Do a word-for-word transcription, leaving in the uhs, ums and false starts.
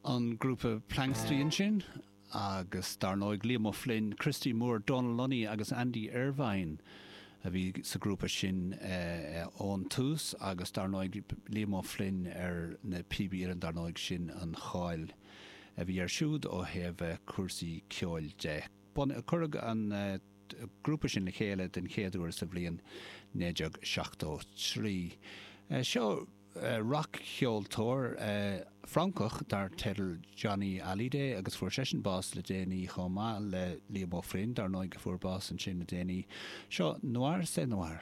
An grúpa Planxty ansin agus dar ndóigh Liam O'Flynn, Christy Moore, Donal Lunny agus Andy Irvine a bhí sa grúpa sin ón tús agus dar ndóigh Liam O'Flynn ar na píobaí uilleann, dar ndóigh sin an cháil a bhí air siúd ó thaobh cúrsaí ceoil de. Cuireadh an grúpa sin le chéile den chéad uair sa bhliain naoi déag seachtó trí. Seo rac-cheoltóir Francach dar teideal Johnny Hallyday agus fuair seisean bás le déanaí chomh maith le Liam O'Flynn, dar ndóigh, a fuair bás ansin le déanaí. Seo Noir c'est Noir.